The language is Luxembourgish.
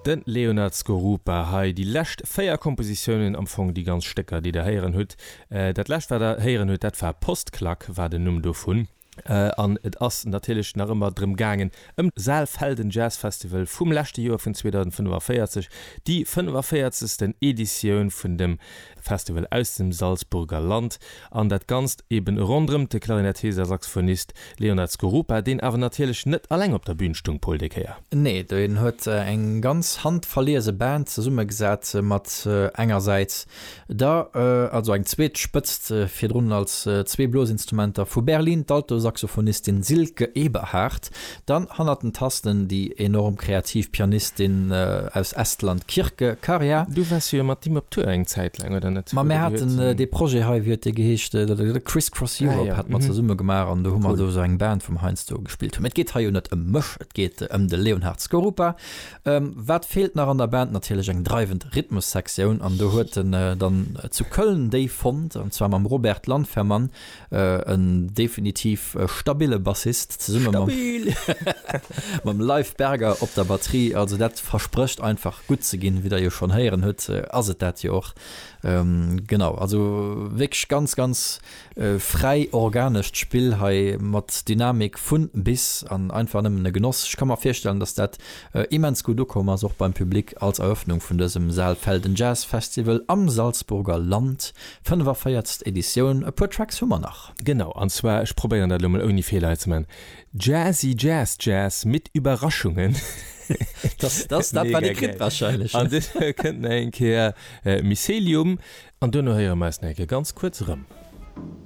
De Leonard Skorupa hei, déi lescht 4 Kompositiounen, am Fong déi ganz Stécker, déi der héieren hutt. Dat lescht, wat der héieren hutt, dat war Postklack, war den Numm dovun. An et ass natierlech nach ëmmer drëm gaangen, ëm Saalfelden Jazz Festival vum leschte Joer, vun 2045, déi 45. Editioun vun dem Festival aus dem Salzburger Land. An dat Ganzt eben ronderëm de Klarinettist a Saxophonist Leonard Skorupa, deen awer natierlech net alleng op der Bün stung, Paul, déi Kéier. Nee, deen huet eng ganz handverliese Band zesummegesat mat engersäits der, also eng zweet Spëtzt virdrun als zwee Blosinstrumenter vu Berlin, d'Altosaxophonistin Silke Eberhardt, Dann hannert den Tasten déi enorm kreativ Pianistin aus Estland Kirke Karja. Du waars jo mat him op Tour eng Zäit laang, oder net? Ma mir haten dee Projet hei, wéi huet dee geheescht, Criss Cross Europe hate mer zesumme gemaach an do hu mer do esou eng Band vum heiansdo gespillt hunn. Mee et geet hei jo net ëm mech, et geet ëm de Leonhard Skorupa. Wat feelt nach an der Band? Natierlech eng dreiwend Rhythmussektioun an do huet en dann zu Köln déi fonnt an zwar mam Robert Landfermann, En definitiv stabille Bassist zesumme mam mam Leif Berger op der Batterie. Also dat versprécht einfach gutt ze ginn, wéi der jo schonn héieren hutt, ass et dat jo och. Genau, also wierklech ganz, ganz fräi organescht Spill hei mat Dynamik vun bis an einfach nëmmen e Genoss. Ech ka mer virstellen, datt dat immens gutt ukomm ass, och beim Public als Eröffnung vun dësem Saalfelden Jazz Festival am Salzburger Land. 45. Editioun, e puer Tracks hu mer nach. Genau, an zwar, ech probéieren dat elo mol ouni Feeler hei ze man, Jazzy Jazz Jazz mit Überraschungen. Das, das, dat war de Kritt wahrscheinlech. An duerno kënnt nach eng Kéier Mycelium. An duerno héiere mer eis nach eng Kéier ganz kuerz erëm.